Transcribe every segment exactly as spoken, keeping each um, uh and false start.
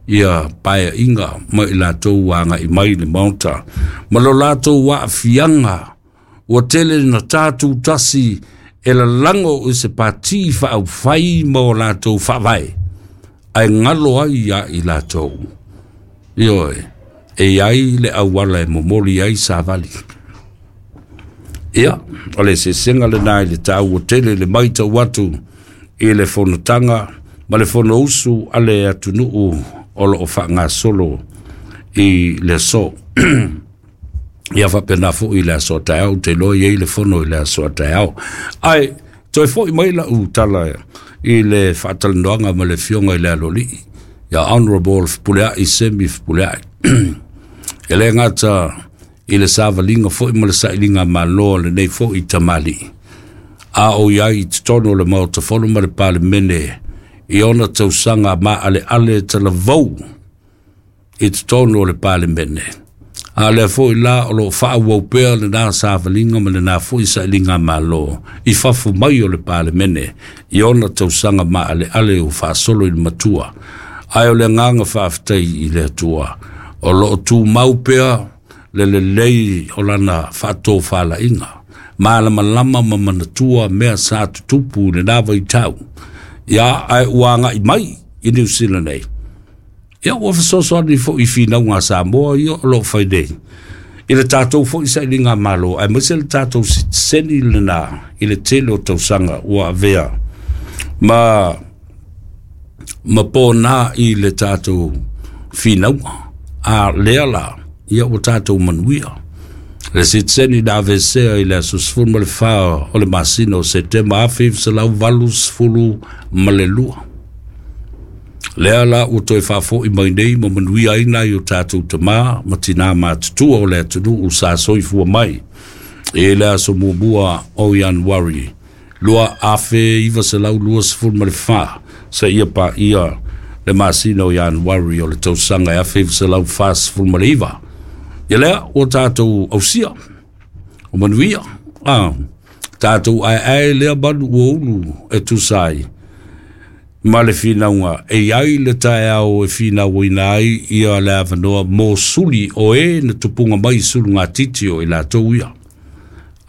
ia paeaiga ma i latou aga'i mai i le Maota ma lo latou aafiaga ua tele na tatou tasi e lalago i se pati faaufai ma o latou faavae ae galo ai ia i latou. Ioe, e iai le auala e momoli ai savali. Ia, o le sesega lenā i le taua tele le matau atu i le fonotaga ma le fonousu a le atunuu o loo faagasolo i le aso. Ia faapena foi le aso taeao, ou te iloa e i ai le fono i le aso a taeao. Ae toe foi mai lau tala i le faatalanoaga ma le afioga i le Aloalii, ia Honorable Fepuleai Semi Fepuleai. E le gata i le savaliga foi ma le sailiga malo a lenei foi tamalii, a o i ai i totonu o le Maota Fono ma le Palemene i ona tausaga maaleale talavou i totonu o le Palemene. A lea foi la o loo faaauau pea lenā savaliga ma lenā foi sailiga malo i fafo mai o le Palemene i ona tausaga maaleale ua faasolo i le matua. Ae o le agaga faafetai i le Atua o loo tumau pea le lelei o lana faatofalaiga malamalama ma manatua mea sa tutupu i lenā vaitau. Ia, ae ua agai mai i Niu Sila nei. Ia, ua fesoasoani foi i finauga a Samoa ia o loo fai nei i le tatou foi sailiga malo, aemaise le tatou sitiseni lenā i le tele o tausaga ua avea ma ma pona i le tatou finauga. A lea la, ia ua tatou manuia. Le sitiseni na aveesea i le aso sefulu ma le fa o le masina o Setema afe iva selau valu sefulu ma le lua. Lea la ua toe faafo'i mai nei ma manuia ai nai o tatou tamā ma tinā matutua o le atunuu sa soifua mai i le aso muamua o Ianuari lua afe iva selau lua sefulu ma le fa seia paia le masina o Ianuari o le tausaga e afe iva selau fa sefulu ma le iva. Ia lea ua tatou ausia o manuia, a tatou aeae lea manu ua ulu e tusa ai ma le finauga e iai le taeao e finauina ai ia le avanoa mo suli o e na tupuga mai sulugatiti o i latou ia.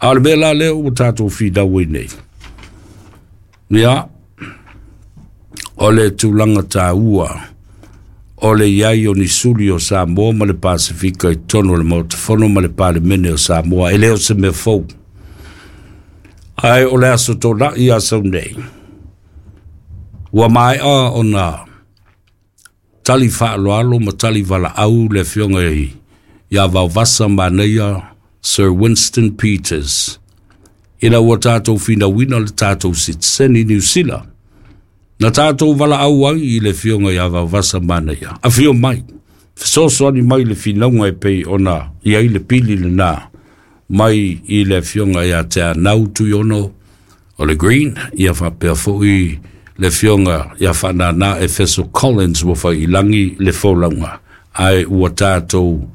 A o le mea la lea ua tatou finau ai nei, ia, o le tulaga taua o le iai o ni suli o Samoa ma le Pasefika i totonu o le Maota Fono ma le Palemene o Samoa. E le o se mea fou. Ae o le aso Tona'i a sau nei, ua maea ona tali faaaloalo ma tali valaau le afioga ia Vaovasa Manaia Sir Winston Peters ina ua tatou finauina le tatou sitiseni Niu Sila. Na tatou valaau ai i le afioga ia Vaovasa Manaia, afio mai, fesoasoani mai le finauga e pei ona i ai le pili lenā mai i le afioga ia Teanau Tuiono o le Green, ia faapea foi le afioga ia Faanana Efeso Collins ua faiilagi le folauga, ae ua tatou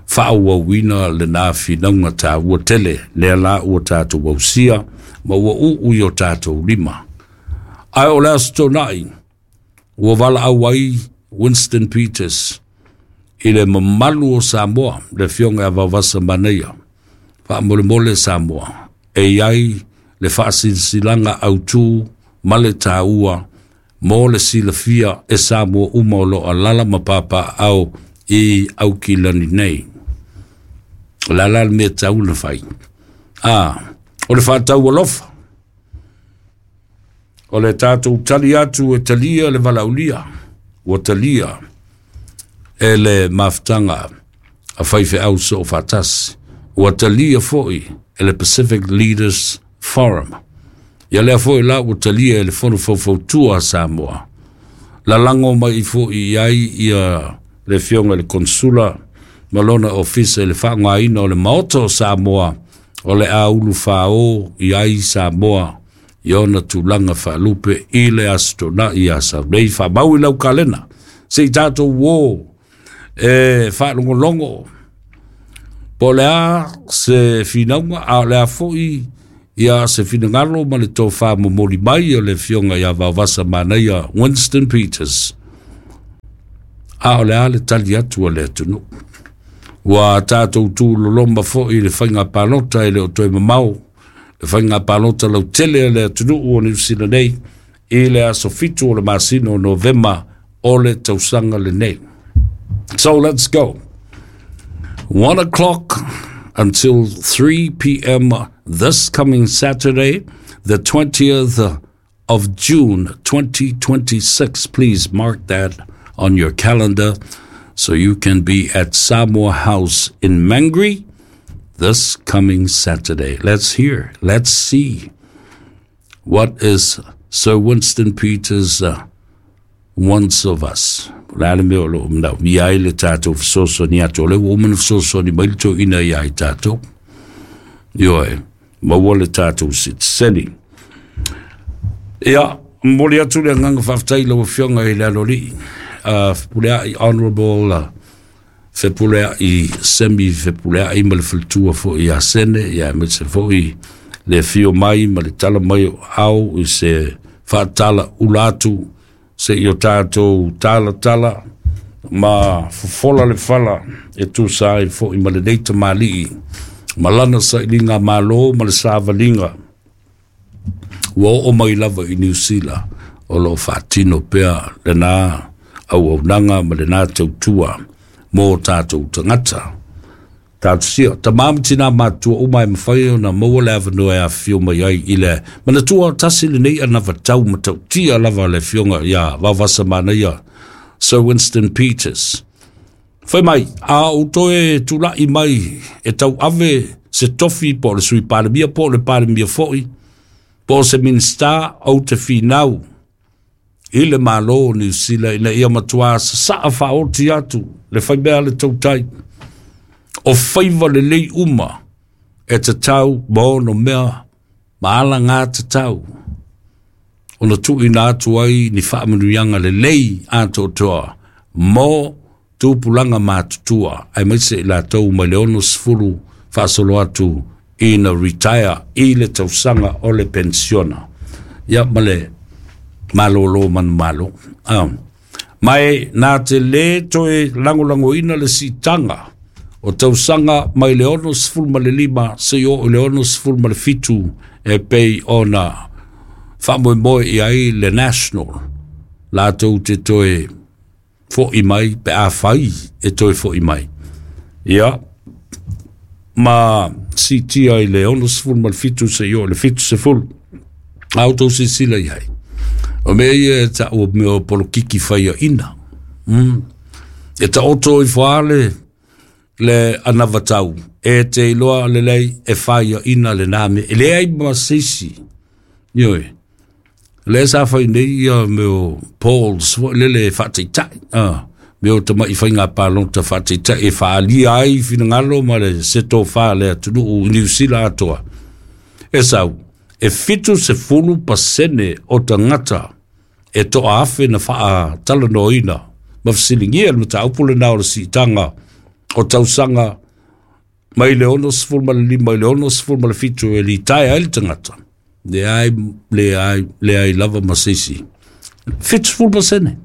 faaauauina lenā finauga taua tele lea la ua tatou ausia ma ua uu i o tatou lima. Ae o le aso Tona'i ua valaau ai Winston Peters i le mamalu o Samoa, le afioga ia Vaovasa Manaia, faamolemole Samoa, e iai le faasilasilaga autū ma le taua mo le silafia e Samoa uma o loo alaala ma papaaao i Aukilani nei. O le a la le mea tatau ona fai? A, o le faatau alofa, o le tatou tali atu e talia le valaaulia, ua talia e le mafutaga a faifeau soofaatasi, ua talia foi e le Pacific Leaders Forum. Ia lea foi la ua talia e le Fono Faufautua a Samoa. Lalago mai foi i ai ia le afioga i le Konsula ma lona ofisa i le faaaogaina o le Maota o Samoa o le a ulufao i ai Samoa i ona tulaga faalupe i le aso Tona'i ia sau nei. Faamau i lau kalena se i tatou uō e faalogologo po o le a se finauga, a o le a foi ia se finagalo ma le tofa momoli mai o le afioga ia Vaovasa Manaia Winston Peters. A o le a le tali atu a le atunuu. Ua tatou tuloloma fo'i i le faiga palota e le o toe mamao, le faiga palota lautele a le atunuu o Niu Sila nei i le aso fitu o le masina o Novema o le tausaga lenei. So let's go. One o'clock until three p m this coming Saturday, the twentieth of June twenty twenty-six. Please mark that on your calendar so you can be at Samoa House in Mangere this coming Saturday. Let's hear, let's see what is Sir Winston Peters uh, wants of us. Le a le mea o loo manaomia ai le tatou fesoasoani atu? O le ua uma na fesoasoani mai le toeaina iā i tatou. Ioe, maua le tatou sitiseni. Ia, momoli atu le agaga faafetai lau afioga i le aloalii uh, Fepuleai, Honorable uh, Fepuleai Semi Fepuleai ma le faletua fo'i ia Sene, ia aemaise fo'i le afio mai ma le tala mai o au i se faatala ula atu se'i o tatou talatala ma fofola le fala e tusa ai fo'i ma lenei tamalii ma lana sailiga malo ma le savaliga ua oo mai lava i Niu Sila o loo faatino pea lenā auaunaga ma lenā tautua mo tatou tagata. Talosia tamā ma tinā matutua uma e mafai ona maua le avanoa e afifio mai ai i le manatua tasi lenei anavatau matautia lava le afioga iā Vaovasamanaia Sir Winston Peters. Fai mai, a ou toe tula'i mai e tauave se tofi po o le sui palemia po o le palemia fo'i po o se minista, ou te finau i le Mālō o Niu Sila ina ia matuā sasa'a faaoti atu le faimea le tautai o faiva lelei uma e tatau ma ono mea ma alagā tatau ona tuuina atu ai ni faamanuiaga lelei atoatoa mo tupulaga matutua aemaise i latou mai le ono sefulu faasolo atu ina retire i le tausaga o le pensiona ia ma le malōlō manumalo. Ah. Ma e na te lē toe lagolagoina le siitaga o tausaga mai le ono sefulu ma le lima seia oo i le ono sefulu ma le fitu e pei ona faamoemoe i ai le National latou te toe fo'i mai pe afai e toe fo'i mai. Ia, ma siitia i le ono sefulu ma le fitu seia oo i le fitu sefulu. A outou silasila i ai. O mea ia e ta'u o mea o polokiki faiaina. Mm. E taoto ifo lava le, le anavatau e te iloa lelei e faiaina lenā mea. E leai ma se isi. Ioe. Lea sa fai nei ia mea o polls foi lele faataitai. Ah. Mea o tama'i faiga palota faataitai e faaalia ai finagalo ma le se tofā le atunuu i Niu Sila atoa. E sau, e fitu sefulu pasene o tagata e toa afe na faatalanoaina ma fesiligia le mataupu lenā o le siitaga o tausaga mai le ono sefulu ma le lima i le ono sefulu ma le fitu e litaea ai le tagata. Leai, leai, leai lava ma se isi. Fitu sefulu pasene.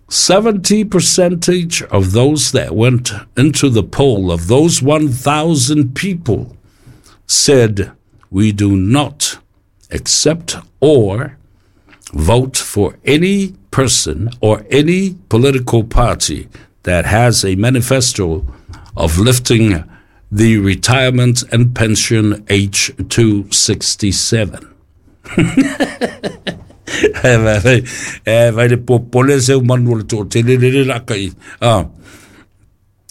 seventy percentage of those that went into the poll, of those one thousand people, said, "We do not accept or vote for any person or any political party that has a manifesto of lifting the retirement and pension age to sixty-seven" E vai le popole se manu o le toatele lele la kai. Ah.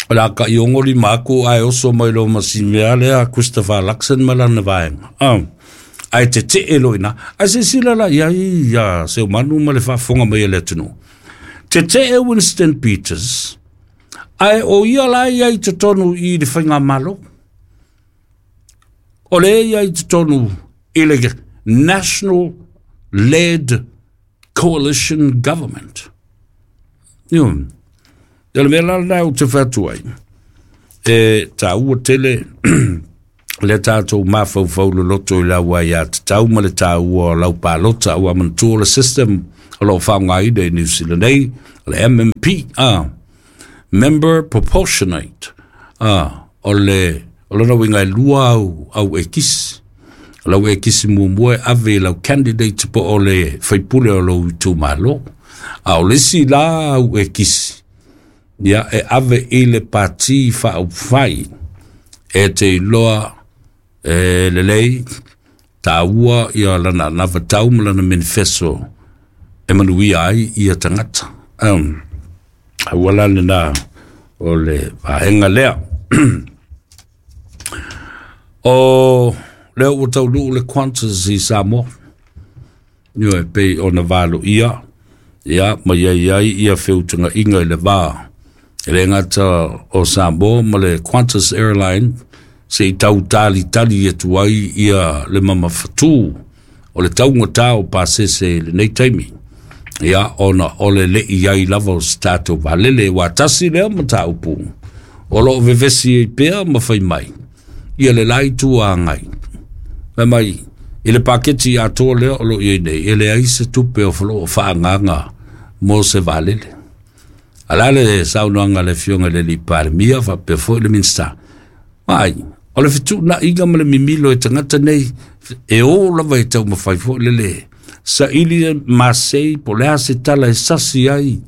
La ka i ongoli maku ai oso mai lo masimea lea Christopher Luxon ma lana vaega. Ah. Ai te te e loina. Ai se sila la ia ia se manu ma le faafofoga mai e le atunuu. Te te e Winston Peters. Ai o ia la ia i totonu i le faigamalo. O le ia i totonu i le National led coalition government. Io, e le mea la lena ou te fai atu ai. E tāua tele le tātou mafaufau loloto i lau aiatatau ma le tāua o lau palota ua manatua le system O loo faaaogaina i Niu Sila nei o le M M P, a member proportionate, a o le o lona uiga e lua au au ekisi. O lau ekisi muamua e ave i lau candidate po o le faipule o lou itumalo, a o le isi la au ekisi ia e ave i le pati faaupufai e te iloa e lelei taua ia lana anavatau ma lana manifesto e manuia ai ia tagata. Um, aua la lena o le vaega lea. O lea ua taunuu le Qantas i Samoa, ioe, pei ona valoia ia ma iai ai ia feutagaiga i le va e le gata o Samoa ma le Qantas Airline se i tau talitali atu ai ia le mamafatū o le taugata o pasese i lenei taimi, ia ona o le le'i ai lava o se tatou valele ua tasi lea mataupu o loo vevesi ai pea ma fai mai ia le la itu agai. Fai mai i le paketi atoa lea o loo iai nei e leai se tupe o loo faaagaga mo se valele. A la le saunoaga a le afioga i le alii Palemia faapea foi le Minisita ai o le fetuunaiga ma le mimilo e tagata nei e o lava e taumafai foi lele saili masei po o le a se tala e sasi ai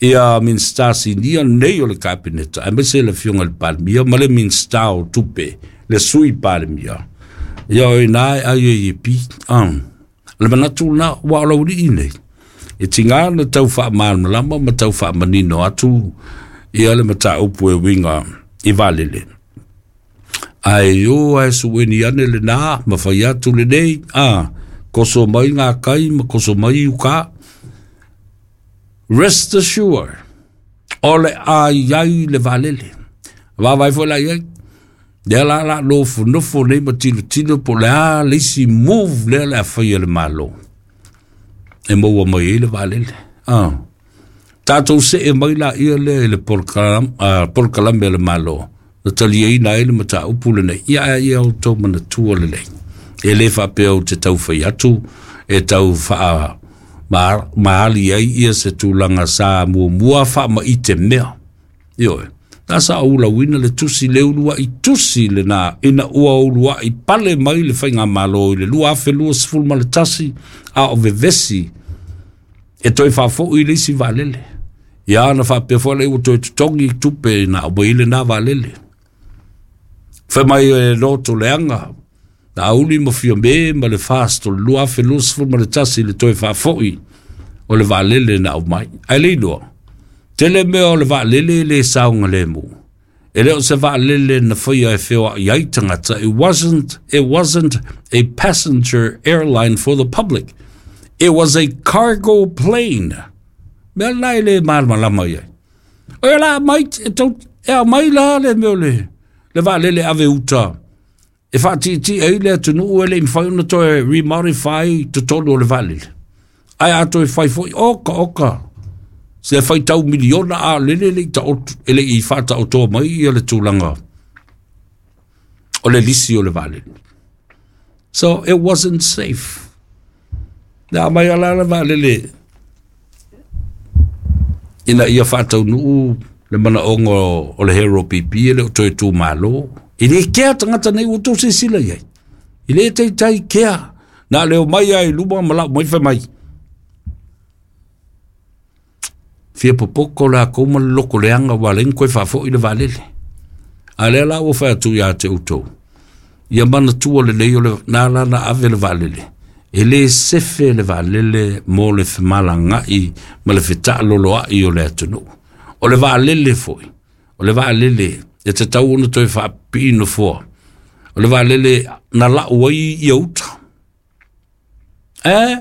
ia Minisita sinia nei o le Kapeneta aemaise le afioga i le Palemia ma le Minisita o Tupe le Sui Palemia ia o ina e ai e pi. Um, le manatu lena ua o laulii nei e tiga na tau faamalamalama ma tau faamanino atu ia le mataupu e uiga i valele. Ae o ae sueni ane lena ma fai atu lenei a koso mai ngā kai ma koso mai uka. Rest assured, o le a iai le valele. Vavai foi la iai. Lea la la nofonofo nei ma tilotilo po o le a le isi move lea le a faia le Malo e maua mai ai le vaalele. Ah. Tatou see mai laia lea i le polokalame a le Malo na taliaina ai le mataupu lenei. Ia ae ia outou manatua lelei. E le faapea ou te taufai atu e tau faa maali ai ia se tulaga sa muamua faamaite mea. Ioe. Na sa ulauina le tusi le uluai tusi lena ina ua uluai pale mai le faigamalo i le lua afe lua sefulu ma le tasi a o vevesi e toe faafoi le isi vaalele. Ia na faapea foi lea ua toe totogi tupe na aumai lena vaalele. Fai mai e loto leaga na auli ma Fiame ma le Fast o le lua afe lua sefulu ma le tasi le toe faafoi o le vaalele na aumai. Ae le iloa, tele mea o le vaalele le saogalemu. E le o se vaalele na faia e feoai ai tagata. It wasn't, it wasn't a passenger airline for the public. It was a cargo plane. Mea lena e le malamalama i ai. O ia la mai, e tau, e aumai la le mea o le, le vaalele ave uta. E faatiatia ai le atunuu e le i mafai ona toe remodify totonu o le vaalele. Ae a toe fai foi, oka oka, se faitau miliona a lele le i taoto, e le i faataotoa mai ia le tulaga o le lisi o le vaalele. So it wasn't safe. Na aumai ala le vaalele ina ia faataunuu le manaoga o le Hero P P e le o toe tumalo. E le kea tagata nei ua tou silasila i ai. E le taitai kea. Na leo mai ai luma ma lau mai fai mai. Fia popoko la kou ma le loko leaga ua leai ni koe faafoi le vaalele. A lea la ua fai atu ia te outou. Ia manatua lelei o le na la na ave le vaalele. E le sefe le vaalele mo le femalagai ma le fetaaloloai o le atunuu. O le vaalele foi, o le vaalele e tatau ona toe faapipii nofoa. O le vaalele na lau ai ia uta. E,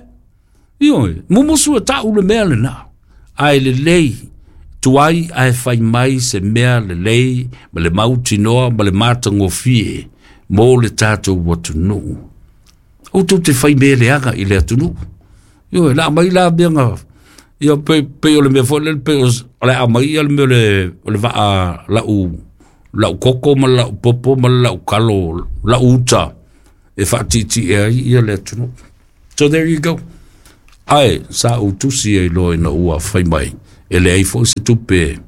ioe, mumusu e tau le mea lena. Ae lelei, tuai ae fai mai se mea lelei ma le mautinoa ma le matagofie mo le tatou atunuu. Outou te fai mea leaga i le atunuu. Ioe, la aumai la mea ia pe pe o le mea foi lele pe o le aumai ia le mea o le o le vaa lau lau koko ma lau popo ma lau kalo lau uta e faatiatia ai ia le atunuu. So there you go. Ae sa ou tusi ai loa ina ua fai mai e leai foi se tupe.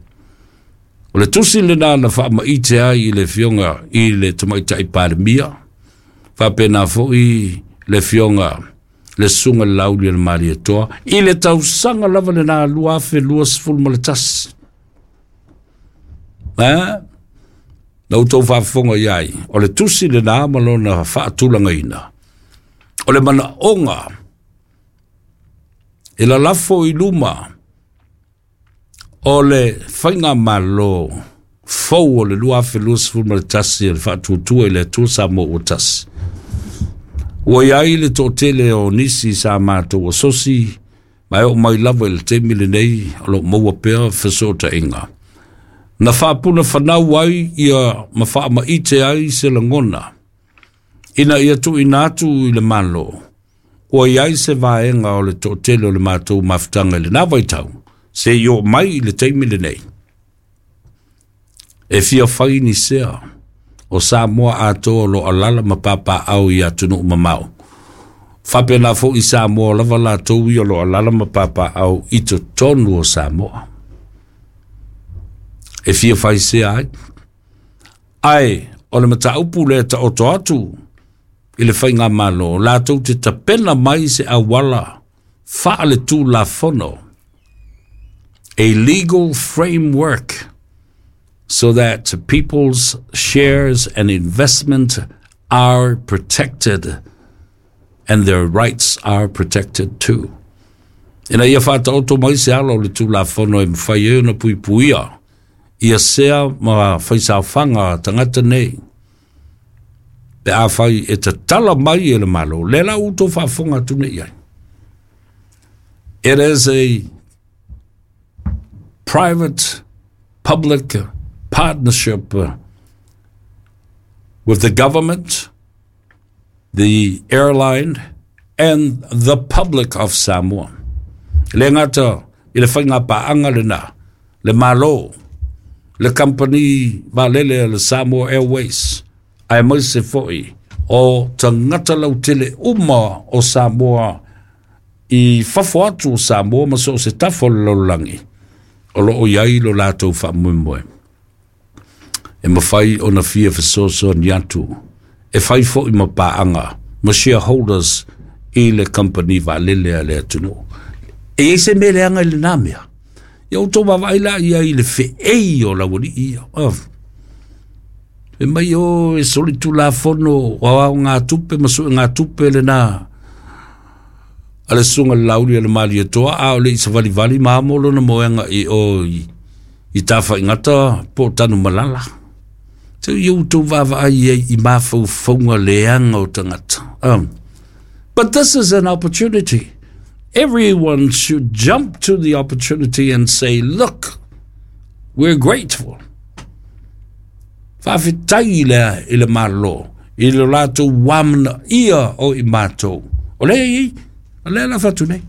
O le tusi lena na faamaite ai i le afioga i le Tamaitai Palemia, faapena foi le afioga le Susuga i le Lauli o le Malietoa i le tausaga lava lena lua afe luasefulu ma le tasi. A na outou faafofoga i ai, o le tusi lena ma lona faatulagaina o le manaoga e lalafo i luma o le faigamalo fou o le lua afe luasefulu ma le tasi o le Faatuatua i le Atua Samoa ua Tasi. Ua i ai le toatele o nisi sa matou asosi, ma e oo mai lava i le taimi lenei o lo o maua pea fesootaiga. Na faapuna fanau ai ia ma faamaite ai se lagona ina ia tuuina atu i le Malo. Ua i ai se vaega o le toatele o le matou mafutaga i lena vaitau se i oo mai i le taimi lenei e fia fai ni sea o Samoa atoa o lo o alaala ma papaaao i atunuu mamao. Faapena foi Samoa lava latou ia o lo o alaala ma papaaao i totonu o Samoa. E fia fai sea ai. Ae o le mataupu lea taoto atu i le faigamalo, latou te tapena mai se auala faaletulafono, a legal framework so that people's shares and investment are protected and their rights are protected too. Ina ia faataoto mai se ala o le tulafono e mafai ai ona puipuia ia sea ma faisaofaga a tagata nei pe afai e tatala mai e le Malo. Le la ua outou faafofoga atu nei ai. It is a private public partnership with the government, the airline and the public of Samoa. E le gata i le faigapaaga lena, le Malo, le kamupani vaalele a le Samoa Airways, aemaise foi o tagata lautele uma o Samoa i fafo atu o Samoa ma so o se tafa o le lalolagi o lo o i ai lo latou faamoemoe. E mafai ona fia fesoasoani atu e fai foi ma paaga ma shareholders i le kamupani vaalele a le atunuu. E i ai se mea leaga i lena mea. Ia outou vaavaai la i ai i le feei o laualii ia. Oh. E mai o e solitulafono o aogatupe ma suegatupe lena a le Susuga i le Lauli o le Malietoa, a o le i savalivali ma amo lona moega i o i, i Tafaigata po o Tanumalala. Te ia outou vaavaai ai i mafaufauga leaga o tagata. Um, but this is an opportunity. Everyone should jump to the opportunity and say, look, we're grateful. Faafetai le i le Malo i le latou uamanaia o i matou. O lea i ai, o lea la fatu nei.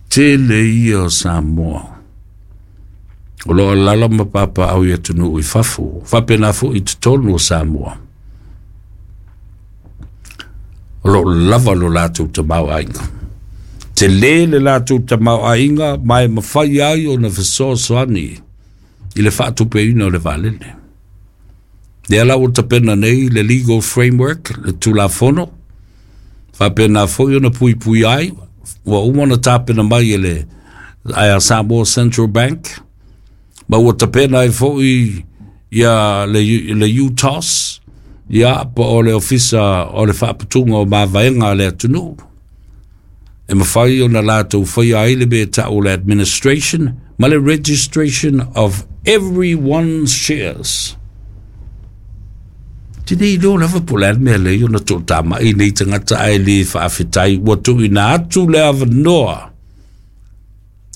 Tele ia o Samoa o lo o alaala ma papaaao i atunuu i fafo, faapena foi i totonu o Samoa. O lo o lava lo latou tamaoaiga. Tele le latou tamaoaiga ma e mafai ai ona fesoasoani i le faatupeina o le vaalele. Lea la ua tapena nei le legal framework, le tulafono, faapena foi ona puipui ai, ua uma ona tapena mai e le a Samoa Central Bank, ma ua tapena ai foi ia le, le U T O S, ia po o le ofisa o le faaputuga o mavaega a le atunuu, e mafai ona latou faia ai le mea e tau o le administration ma le registration of everyone's shares. Te nei iloa lava po o le a le mea lea ona toatamai nei tagata ae le faafetai ua tuuina atu le avanoa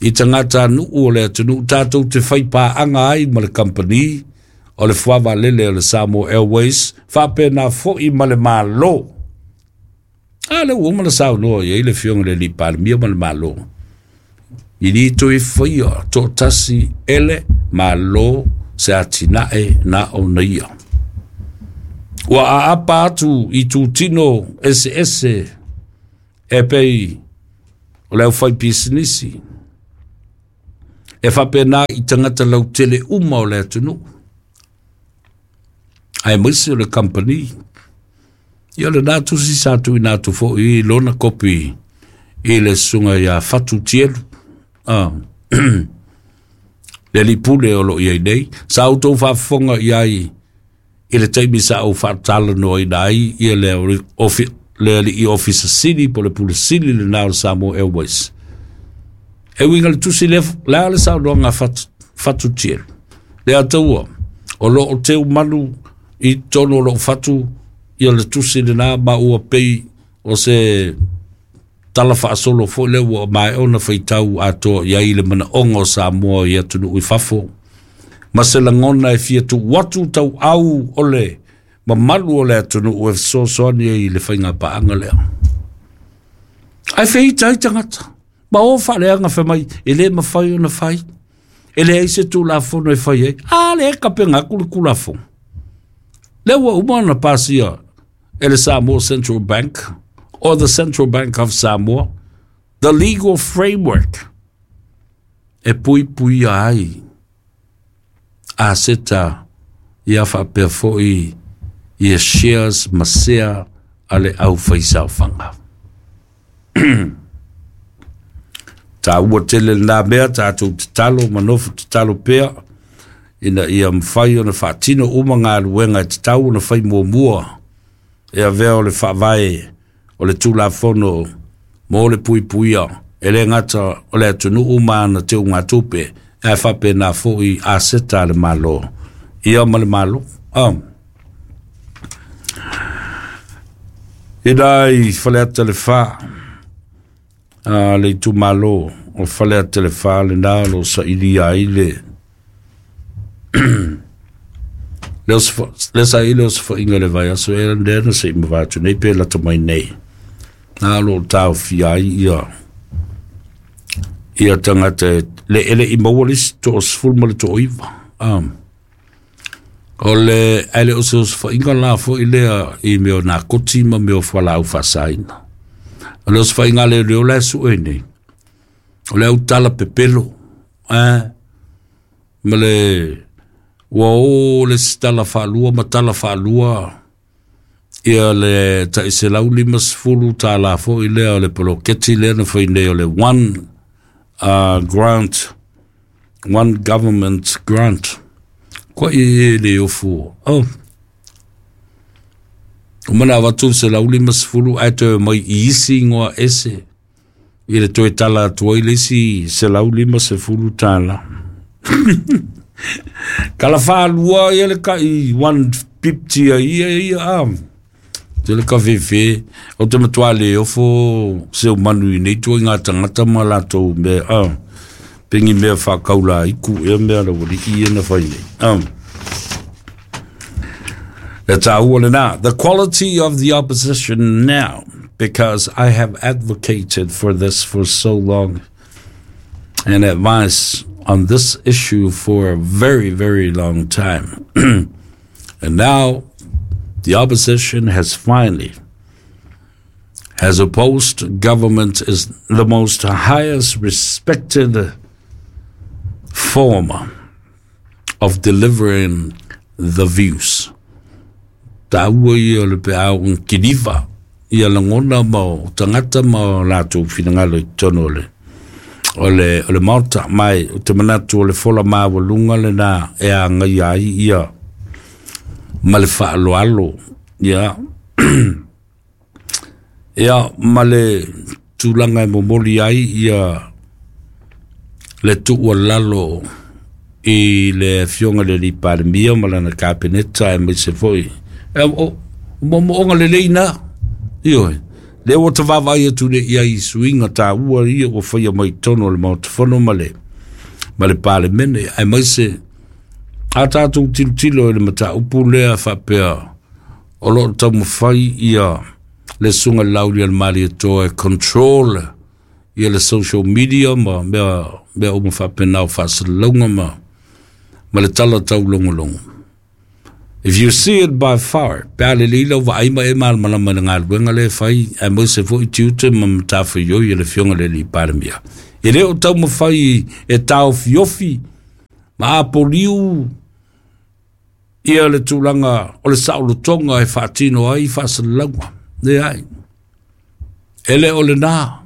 i tagata nuu o le atunuu tatou te faipaaga ai ma le kamupani o le fuavaalele o le Samoa Airways, faapena foi ma le Malo. A le ua uma na saunoa i ai le afioga i le alii Palemia ma le Malo. I li toe faia toatasi ele Malo se atinae na ona ia. Ua aapa atu i tutino eseese e pei O le aufai pisinisi. E faapena i tagata lautele uma o le atunuu. Aemaise o le kamupani. Ia lena tusi sa tuuina atu foi i lona kopi i le susuga ia Fatu Tielu. Ah. Le alii pule o loo i ai nei. Sa outou faafofoga i ai i le taimi sa ou faatalanoaina ai ia le ofi, le alii ofisa sili po le pule sili lena o le Samoa Airways. E uiga le tusi le, le a le saunoaga Fatu, Fatu Tielu. Le ataua, o loo teu manu i totonu o lou fatu ia le tusi lena ma ua pei o se tala faasolo foi lea ua maea ona faitau atoa i ai le manaoga o Samoa i atunuu i fafo. Ma se lagona e fia tuu atu tauau o le mamalu o le atunuu e fesoasoani ai i le faigapaaga lea. Ae feita ai tagata. Ma o faaleaga fai mai, e le mafai ona fai. E leai se Tulafono e fai ai. A le kapega atu le Tulafono. Lea ua uma ona pasia e le Samoa Central Bank or the Central Bank of Samoa the legal framework e puipuia ai aseta ia faapea foi ia shares ma sea a le aufaisaofaga. Taua tele lena mea, tatou tatalo ma nofo tatalo pea ina ia mafai ona faatino uma galuega e tatau ona fai muamua e avea o le faavae o le Tulafono mo le puipuia e le gata o le atunuu ma ana teugatupe ae faapena foi aseta a le Malo ia ma le Malo. Ah. Ina i Faleata le Fa, a le itumalo o Faleata le Fa lena o lo sailia ai le le saili o se faiga le vaiaso e lea na se i mavae atu nei pe lata mai nei. Na o lo taofia ai ia ia tagata le ele i maua le isi toasefulu ma le toaiva. Um, o le ae le o se osofaiga la foi lea i mea o nakoti ma mea o fualaau faasaina. O le osofaiga le leo la e sue nei. O le autala pepelo. Eh, ma le ua o le isi tala faalua ma tala faalua ia le taiselau limasefulu tālā foi lea o le poloketi lea na fai nei o le one uh, grant, one government grant. Koa i e le ofu. Oh. O mana avatu selau limasefulu ae toe mai i isi ingoa ese. I le toe tala atu ai le isi selau limasefulu tālā. Kala whālua ia le kai one fifty a ia ia a. Te le kawhewhe o te matua le ofo se o manu i nei tua i ngā tangata ma lātou me a. Pengi mea whakaula iku e mea la wali i e na whai nei. Um. Le tāua le nā. The quality of the opposition now, because I have advocated for this for so long and advice on this issue for a very, very long time. And now the opposition has finally has opposed government is the most highest respected form of delivering the views. Tāua ia le pe au kiniva ia langona ma o tangata ma o lātou finangalo i tonu o le o le, o le Maota mai o te manatu o le fola māualuga lena e agaia ai ia ma le faaaloalo ia ia ma le tulaga e momoli ai ia le tuualalo i le afioga le alii Palemia ma lana kapeneta aemaise foi e o moomooga lelei na ioe lea ua tavaavaai atu nei i ai i suiga taua ia ua faia mai totonu o le Maota Fono ma le ma le Palemene aemaise a tatou tilotilo i le mataupu lea faapea o loo taumafai ia le susuga le Lauli a le Malietoa e control ia le social media ma mea mea uma faapena o faasalalauga ma ma le tala taulogologo. If you see it by far, pe a le lila wa aima e mal malama le galuega le fai, a mo se fo i tiute ma matafaioi e le Afioga le Alii Palemia. E le o taumafai e taofiofi ma apoliu ia le tulaga o le saolotoga e faatino ai faasalalauga. Leai, e le o lenā.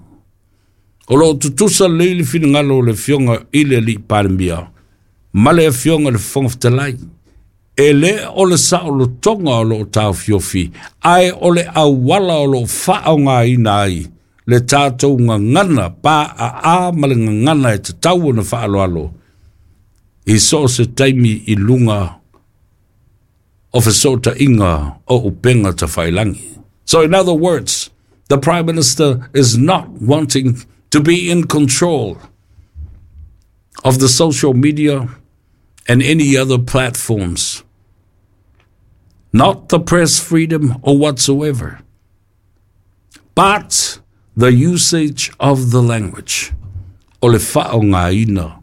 O loo tutusa lelei le finagalo o le Afioga i le Alii Palemia ma le Afioga i le Fofoga Fetalai. E le o le saolotoga o loo taofiofi, ae o le auala o loo faaaogaina ai le tatou gagana paaa ma le gagana e tatau ona faaaloalo i so o se taimi i luga o fesootaiga o upega tafailagi. So in other words, the Prime Minister is not wanting to be in control of the social media and any other platforms, not the press freedom or whatsoever, but the usage of the language. O le faaaogaina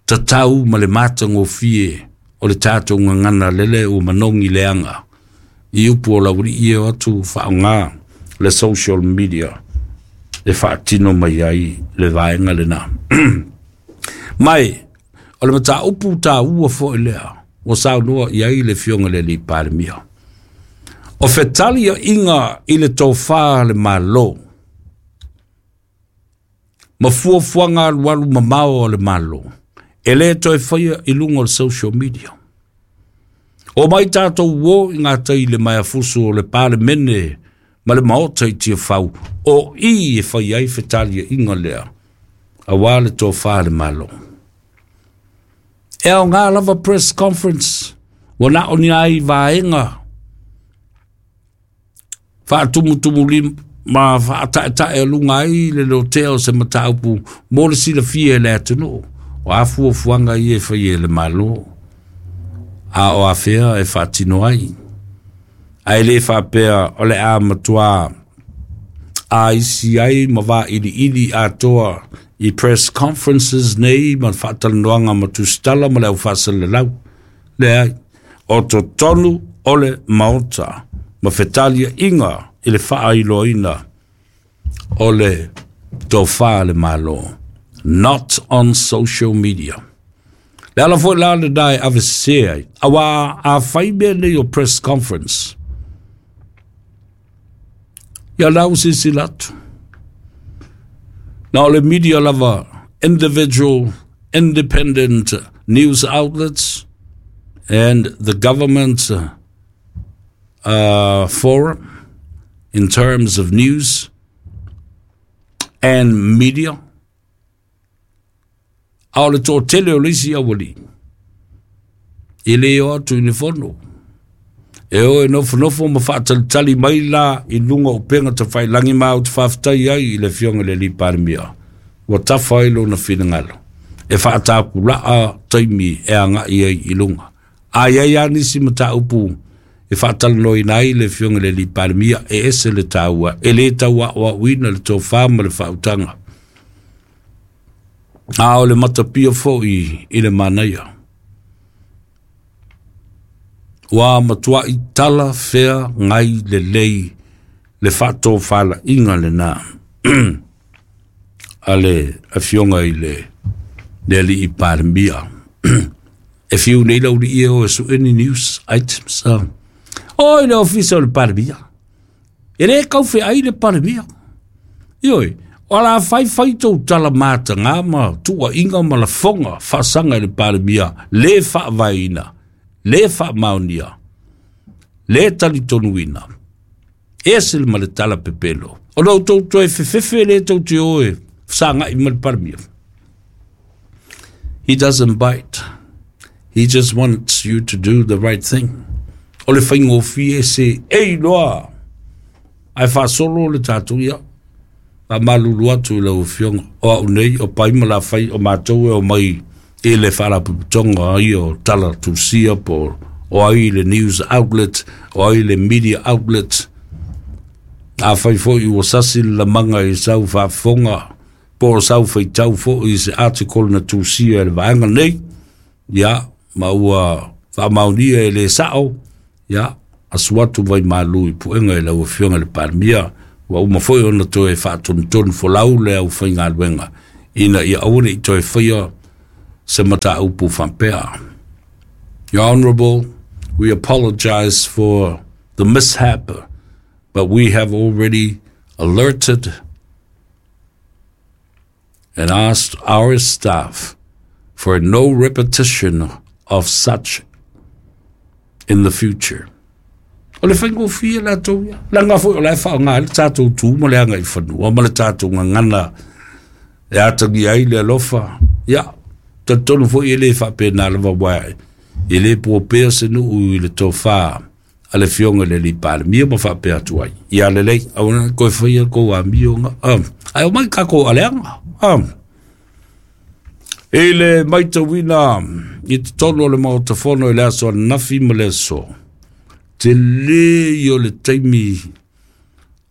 tatau ma le matagofie o le tatou gagana lele ua manogi leaga i upu o laualii e o atu faaaoga le social media e faatino mai ai le vaega lenā. Mai o le mataupu taua foʻi lea ua saunoa i ai le Afioga le Alii Palemia, o fetaliaiga i le tofā le Malo ma fuafuaga alualu mamao o le Malo e lē toe faia i luga o le social media. O mai tatou uō i gatai le maeafusu o le Palemene ma le Maota i Tiafau o i e fai ai fetaliaiga lea auā le tofā le Malo. E aogā lava press conference ua na o ni ai vaega faatumutumulima ma faataetae aluga ai le lotea o se mataupu mo le silafia e le atunuu o a fuafuaga ia e fai e le Malo a o afea e faatino ai. Ae lē faapea o le a matuā a isi ai ma vailiili atoa i press conferences nei ma faatalanoaga ma tusitala ma le aufaasalalau. Leai, o totonu o le Maota ma fetaliaiga i le faailoaina o le tofā le Malo, not on social media. Le ala foʻi la lenā e avesesē ai, auā a fai mea nei o press conference ia lau silasila atu na o le media lava, individual independent news outlets and the government uh, forum in terms of news and media. A o le toatele o le isi aualii e lē o atu i le fono e o e nofonofo ma faatalitali mai la i luga o upega tafailagi ma ou te faafetai ai i le Afioga i le Alii Palemia ua tafa ai lona finagalo e faatapulaa taimi e agaʻi ai i luga. A iai a nisi mataupu e faatalanoaina ai le Afioga i le Alii Palemia e ese le taua e lē tauaoaoina le tofā ma le faautaga a o le matapia foʻi i le manaia ua matuaʻi tala fea gai lelei le faatofalaiga lenā a le Afioga i le le Alii Palemia. E fiu nei laulii e o e sue ni news items o i le ofisa o le Palemia e lē kaufeai le Palemia. Ioe, o la faifai tou tala matagā ma tuuaiga ma lafoga faasaga i le Palemia lē faavaeina, lē faamaonia, lē talitonuina ese le ma le tala pepelo o lou tou toe fefefe lē tou te o e fesagai ma le Palemia. He doesn't bite. He just wants you to do the right thing. O le faigofie se e iloa ae faasolo le tatou ia faamalulu atu i lau Afioga o au nei o pai ma lafai o matou e o mai i le faalapotopotoga ai o tala tusia po o ai le news outlet o ai le media outlet. Afai foʻi ua sasi le lamaga i sau faafofoga po o sau faitau foʻi i se article na tusia e le vaega nei ia ma ua Faamaonia e le sao, ia, asu atu vai malu i puega i lau Afioga i le Palemia, ua uma foi ona toe faatonutonu folau le aufaigaluega ina ia aua ne i toe faia se mataupu faapea. Your Honorable, we apologize for the mishap, but we have already alerted and asked our staff for no repetition of such in the future. O le faigofie latou ia. Leaga foi o la e faaaoga ai le tatou tu ma le aga i fanua ma le tatou gagana e atagia ai le alofa. Ia, talitonu foi e le faapena lava aua e le puapea se nuu i le tofa a le Afioga i le alii Palemia ma faapea atu ai. Ia lelei, aua ne i toe faia le tou amioga. Ae omai tatou aleaga. I le matauina i totonu o le Maota Fono i le aso ananafi ma le aso, tele ia o le taimi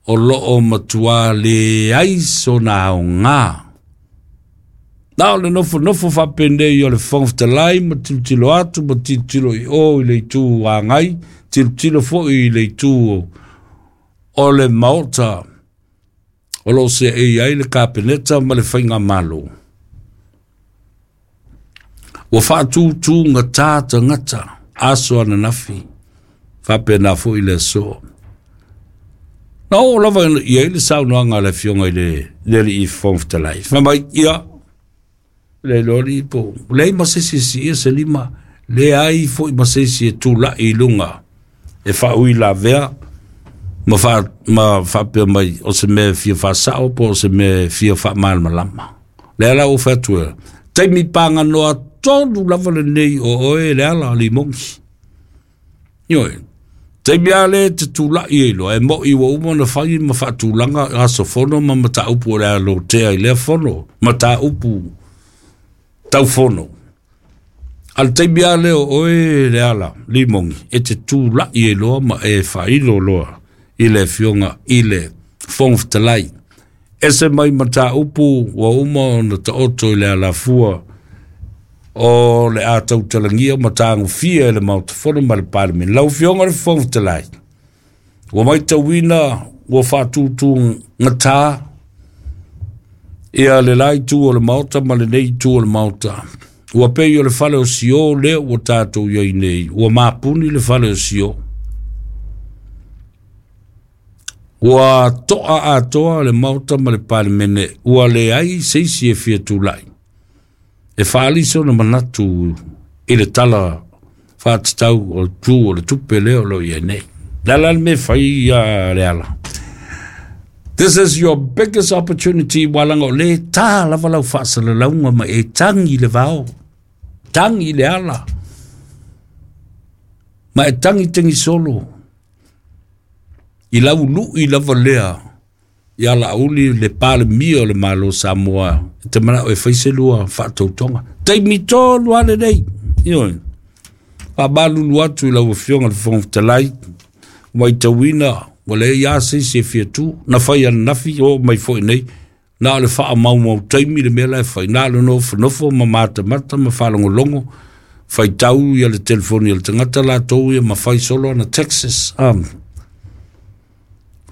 o loo matua leai sona aoga. Na o le nofonofo faapenei o le Fofoga Fetalai ma tilotilo atu ma tilotilo i o i le itu agai, tilotilo foi i le itu o le Maota o loo seei ai le Kapeneta ma le Faigamalo. Ua faatutugata tagata aso ananafi, faapena foi le aso. Na oo lava i ai le saunoaga a le Afioga i le alii Fofoga Fetalai. Fai mai, ia, le iloa alii po o leai ma se isi e siia se lima, leai foi ma se isi e tulai i luga e faauilavea ma, fa, ma faapea mai o se mea e fia faasao po o se mea e fia faamalamalama. Lea la ua fai atu e, taimi paganoa tonu lava lenei o oe le ala limogi. Ioe, taimi a le te tulai e iloa, e moi ua uma ona fai ma faatulaga aso fono ma mataupu o le a lotea i lea fono, mataupu tau fono. A le taimi a lea o oe le ala limogi, e te tulai e iloa ma e faailo loa i le Afioga i le Fofoga Fetalai. Ese mai mataupu ua uma ona taoto i le alafua o le a tautalagia ma tagofia e le Maota Fono ma le Palemene. Lau Afioga i le Fofoga Fetalai, ua matauina ua faatutugata ia le la itu o le Maota ma lenei itu o le Maota. Ua pei o le fale o Sio lea ua tatou i ai nei, ua mapuni le fale o Sio. Ua toa atoa le Maota ma le Palemene, ua leai se isi e fia tulai e faaali sona manatu i le tala faatatau o le tu o le tupe lea o lo o i ai nei. Le ala le mea fai ia le ala. This is your biggest opportunity ua laga o le tā lava lau faasalalauga ma e tagi le vao, tagi le ala, ma e tagi tagi solo i lau lui lava lea ia Laauli le Palemia o le Malo Samoa e te manao e fai se lua faatautoga. Taimi tonu lava lenei. Ioe. Faamalulu atu i lau Afioga i le Fofoga Fetalai, matauina ua leai lava se isi e fia tu, na fai ananafi oo mai foi nei, na o le faamaumau taimi le mea la e fai, na o le nofonofo ma matamata ma faalogologo, faitau ia le telefoni a le tagata latou ia ma fai solo ana taxes. Um,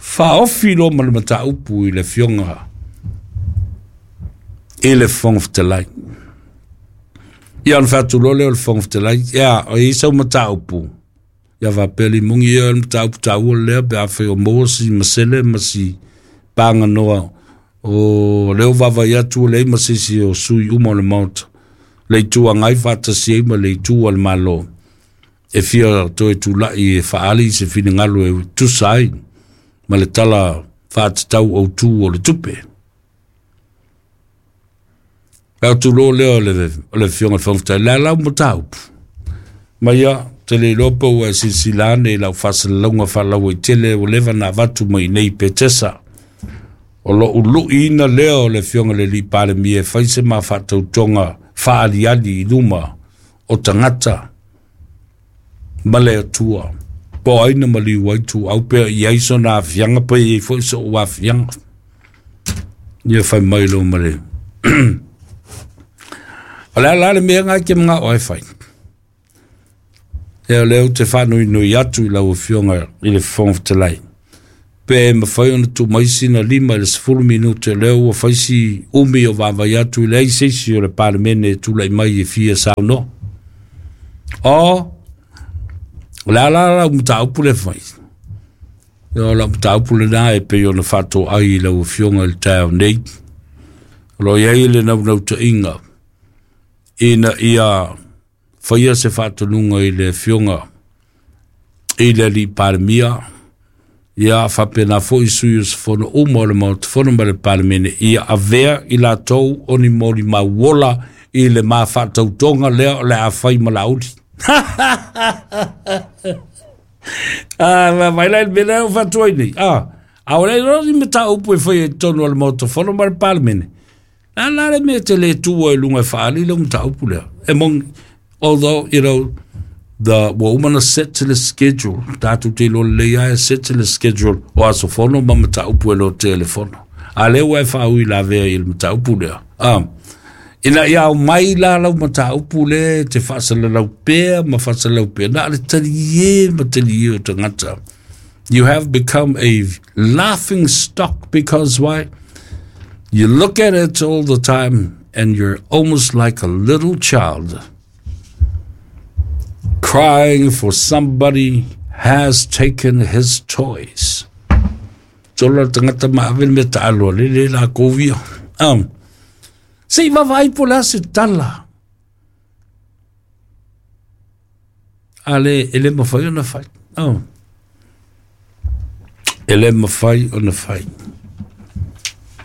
faaofi loa ma le mataupu i le Afioga i le Fofoga Fetalai. Ia ona fai atu loa lea o le Fofoga Fetalai, ia, o i ai sau mataupu, ia faapea limogi ia o le mataupu taua lea pe afai o maua si masele ma si paganoa o lea o vaavaai atu ua leai ma se isi o sui uma o le Maota, le Itu Agai faatasi ai ma le Itu a le Malo e fia toe tulai e faaali se finagalo e tusa ai ma le tala faatatau autu o le tupe. Fai atu loa lea o le, o le Afioga i le Fofoga Fetalai, le a lau mataupu? Ma ia, te le iloa pe ua e silasila ane i lau faasalalauga faalauaitele ua leva ona avatu mai i nei Petesa. O lou luiina lea o le Afioga i le alii Palemia e fai se ma faatautoga faaaliali i luma o tagata ma le Atua. Po o ai na maliu ai tuau pea i ai sona aafiaga pe i ai foi sou aafiaga. Ia fai mai loa ma le O le a la le mea lena e te manao ai e fai? E o lea ou te faanoinoi atu i lau Afioga i le Fofoga Fetalai, pe mafai ona tuu mai sina lima i le sefulu minute, lea ua fai si umi o vaavai atu i leai se isi o le Palemene e tulai mai e fia saunoa. O, o le a la lau mataupu le fai? O lau mataupu lena e pei ona faatoai i lau Afioga i le taeao nei. O lo o i ai le naunautaiga ina ia faia se faatonuga i le Afioga i le alii Palemia, ia faapena foi sui usufono uma o le Maota Fono ma le Palemene, ia avea i latou o ni molimau ola i le mafaatautoga lea o le a fai ma Laauli. Ah, vai la il mea o fatuai nei. Ah, a o le ni mataupu e fai i totonu o le Maota Fono ma le Palemene. La la le mea te le tua i luga e faali le mataupu lea. E moni, although, you know, the ua uma na set le schedule, tatou te iloa lelei lava e set le schedule o aso fono ma mataupu e lotea i le fono. A lea ua e faaui lavea i le mataupu lea. Ah, ina ia aumai la lau mataupu lea te faasalalau pea ma faasalalau pea, na o le talie ma talie o tagata. You have become a laughing stock because why? You look at it all the time and you're almost like a little child crying for somebody has taken his toys. Tolo le tagata ma ave le mea taalo a le le la kovia. Um, se i vavaai po o le a se tala a le e le mafai ona fai. Um, e le mafai ona fai.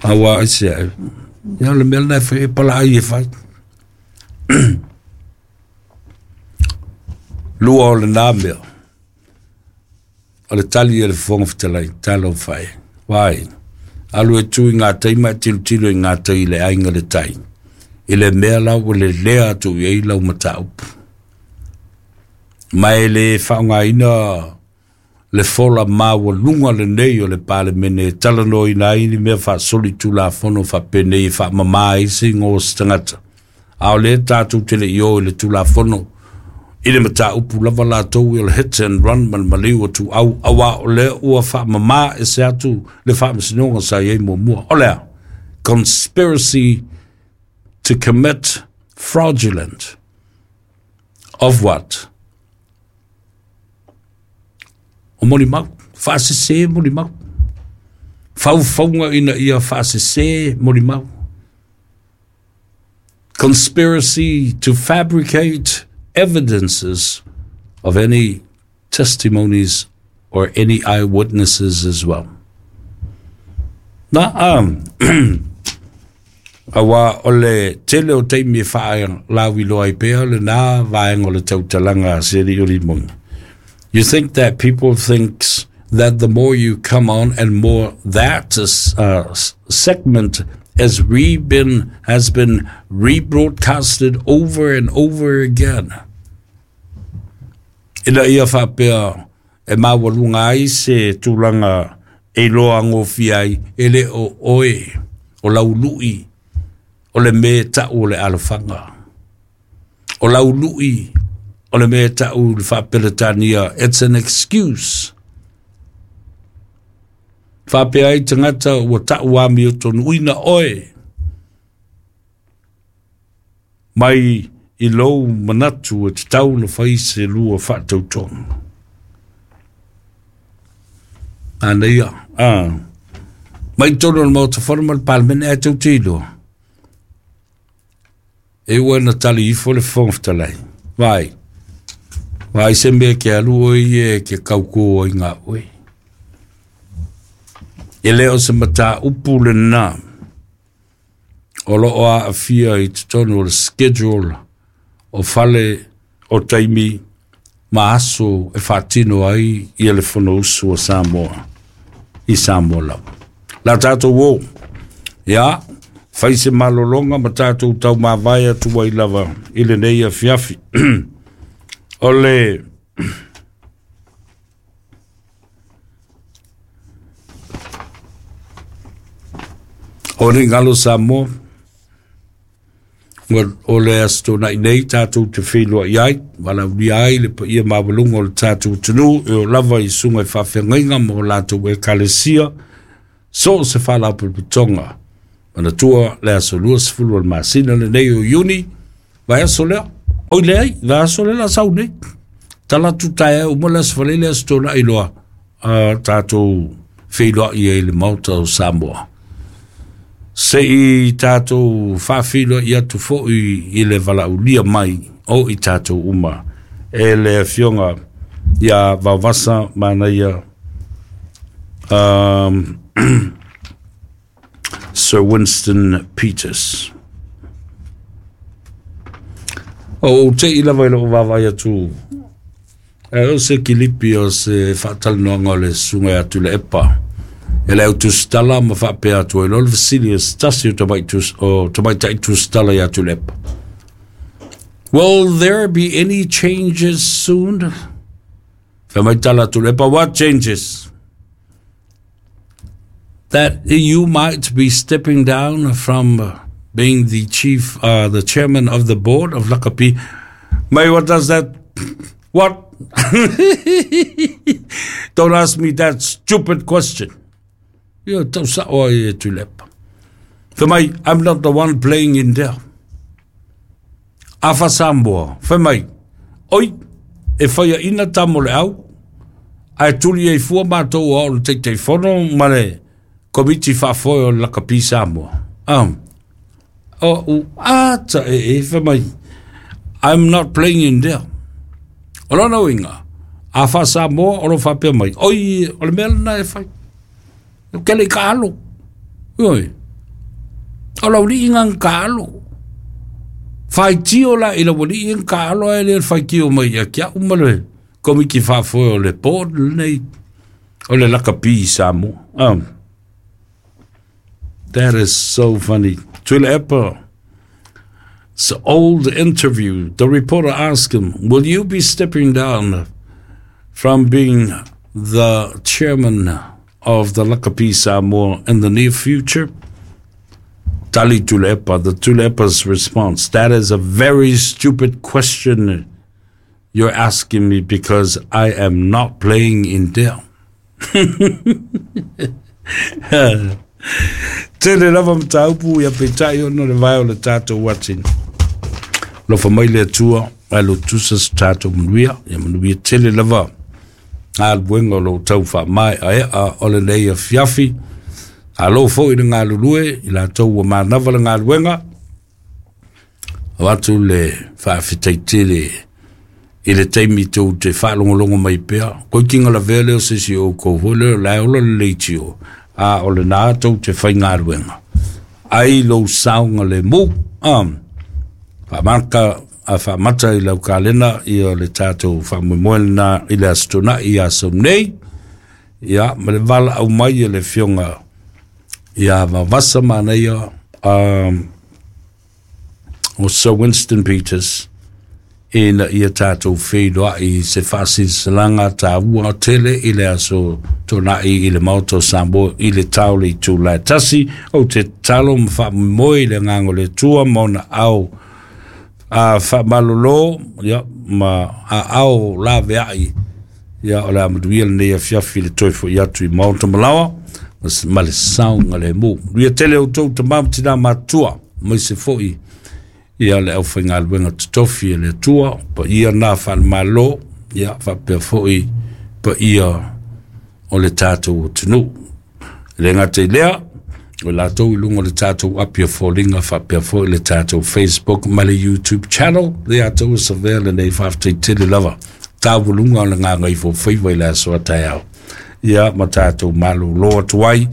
Aua ai se ai. Ia o le mea lena e fai e palaai e fai. Lua o lena mea. O le tali e le Fofoga Fetalai, talofa e. Vai, alu e tu i ngā tai ma e tilotilo i ngā tai i le aiga le tai. I le mea la ua lelea atu i ai lau mataupu. Ma e le faaaogaina le fola maualuga lenei o le Palemene e talanoaina ai ni mea faasolitulafono faapenei e faamama ai se igoa o se tagata. A o lea tatou te le i o i le Tulafono i le mataupu lava latou i o le hit and run ma le maliu o tuau, auā o lea ua faamama ese atu le faamasinoga sa i ai muamua. O le a? Conspiracy to commit fraudulent of what? O molimau, faasese molimau. Faufauga ina ia faasese molimau. Conspiracy to fabricate evidences of any testimonies or any eyewitnesses as well. Na, um, auā o le tele o taimi e faalauiloa ai pea lena vaega o le tautalaga a se alii o Limoga. You think that people thinks that the more you come on and more that uh, segment has re been has been rebroadcasted over and over again. Ina ia faapea e maualuga ai se tulaga e iloa gofie ai e le o oe o laului o le mea e tau o le alofaga. O laului o le mea e tau i le faapeletania, it's an excuse. Faapea ai tagata ua tau amiotonuina oe mai i lou manatu e tatau ona fai se lua faatautoga. Manaia, ah, mai totonu o le Maota Fono ma le Palemene ae tou te iloa. E ua na tali ifo le Fofoga Fetalai. Vai, vai se mea ke alu oe ia e ke kaukō ai ngā oe. E le o se mataupu lena o lo o aafia i totonu o le schedule o fale o taimi ma aso e faatino ai ia le Fonousu a Samoa i Samoa lava. La tatou o, ia, fai se malologa ma tatou taumavae atu ai lava i lenei afiafi. O le o le galo Samoa, O le aso tona'i nei tatou te feiloa'i ai, valaaulia ai le paia maualuga o le tatou atunuu e oo lava i susuga i faafeagaiga ma o latou ekalesia so o se faalapotopotoga. Manatua le aso luasefulu o le masina lenei o Iuni, vaiaso lea, oi leai, vaiaso lea la sau nei. Tala atu taeao uma le aso Faraile le aso Tona'i loa, uh, tatou feiloa'i ai i le Maota o Samoa. Se i tatou faafeiloai atu foi i le valaaulia mai o i tatou uma e le afioga ia Vaovasa Manaia, um, Sir Winston Peters. O ou te'i lava i lou vaavaai atu, e o se kilipi o se faatalanoaga o le susuga ia Tuilaepa e le au tusitala ma faapea atu ai loa le fesili a se tasi o o tamaitai tusitala ia Tuilaepa. Will there be any changes soon? Fai mai tala Tuilaepa, what changes? That you might be stepping down from being the chief, uh, the chairman of the board of Lakapi. May, what does that, what? Don't ask me that stupid question. Ia, tau sa'o ai e Tuilaepa. Fai mai, I'm not the one playing in there. Afa Samoa, fai mai, oi, e faiaʻina tama o le au, ae tuli ai fua matou o au o le Taitaifono ma le Komiti Faafoe o le Lakapi Samoa. Um, o u ata e e, fai mai, I'm not playing in there. O lona uiga, a faa-Samoa o lo faapea mai, oi, o le mea lena e fai. E kele i ka alo. Oi. O lau alii ga ka alo. Faitio la i lau alii ga ka alo ae le faitio mai ia te a'u ma le Komiti Faafoe o le board lenei o le Lakapi i Samoa. Um, that is so funny. Tuilaepa. It's an old interview. The reporter asked him, will you be stepping down from being the chairman of the Lakapi Samoa in the near future? Tali Tuilaepa, the Tuilaepa's response, that is a very stupid question you're asking me because I am not playing in there. Tele lava mataupu ia peitai ona le vae o le tatou uati. Alofa mai le Atua ae lotusa se tatou manuia, ia manuia tele lava galuega o loo tau faamaeaea o lenei afiafi. Malo foi le galulue i latou ua manava le galuega. Avatu le faafetai tele i le taimi tou te faalogologo mai pea. Koikiga lavea lea o se isi o outou foi lea o la e ola le leitio, a o lenā tou te faigaluega ai lou saogalemu. Um, faamaka a faamata i lau kalena ia le tatou faamoemoe lenā i le Aso Tona'i ia sau nei, ia ma le valaau mai e le afioga ia Vavasa Manaia, um, o Sir Winston Peters, ina ia tatou feiloa'i i se faasilasilaga taua tele i le Aso Tona'i i le Maota o Samoa i le tao le itula e tasi. Ou te tatalo ma faamoemoe i le agaga o le Atua ma ona ao a faamalolo, ia, ma aao laveai, ia, o le a manuia lenei afiafi i le toe fo'i atu i maota malaoa ma le saogalemu. Manuia tele outou tama ma tinā matutua, aemaise foi ia le aufaigaluega totofi e le Atua, paia na faalemalo, ia faapea foi paia o le tatou atunuu. E le gata i lea, o latou i luga o le tatou api o foliga faapea foi le tatou Facebook ma le YouTube channel, le atou e savea lenei faafetai tele lava. Tauluga o le gagaifofaiva i le aso a taeao. Ia ma tatou malolo atu ai,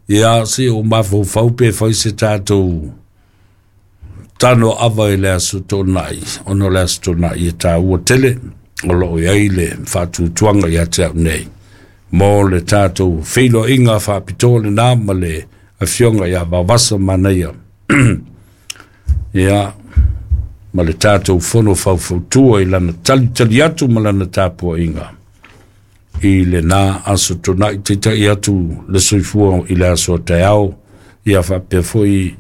ia se o mafaufau pe fai se tatou tano ava i le Aso Toonai, ona o le Aso Toonai e taua tele, o loo i ai le faatuatuaga ia te au nei mo le tatou feiloaiga faapitoa lenā ma le afioga ia Vaovasa Manaia, ia ma le tatou fono faufautua i lana talitali atu ma lana tapuaiga i lenā Aso Tona'i. Taitai atu le soifua i le aso a taeao, ia faapea foi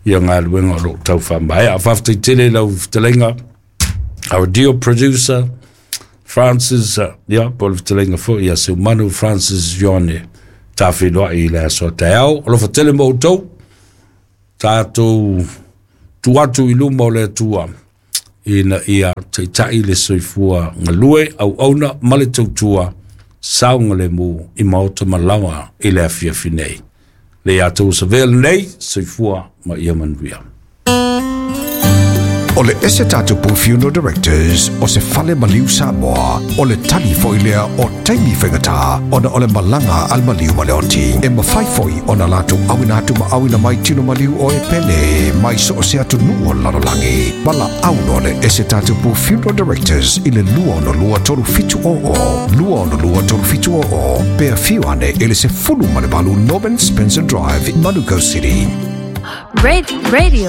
Ia galuega o loo tau faamaea. Faafetai tele lau fetalaiga, our dear producer Francis, ia po o le fetalaiga foi ia Seumanu Francis Ione tafeiloai i le aso taeao. Alofa tele ma outou, tatou tu atu i luma o le Atua ina ia taitai le soifua galue auauna ma le tautua saogalemu i maota ma laoa i le afiafi nei. Le ia tou savea lenei, soifua ma ia manuia. O le Ese Tatupu Funeral Directors o se fale maliu Samoa, o le tali foi lea o taimi faigata ona o le malaga a le maliu ma le oti. E mafai foi ona latou auina atu ma auina mai tino maliu o e pele mai so o se atunuu o le lalolagi. Valaau le Ese Tatupu Funeral Directors i le lua ono lua tolu fitu o o, lua ono lua tolu fitu o o, pe afio ane i le sefulu ma le valu Norman Spencer Drive, Manukau City. Radio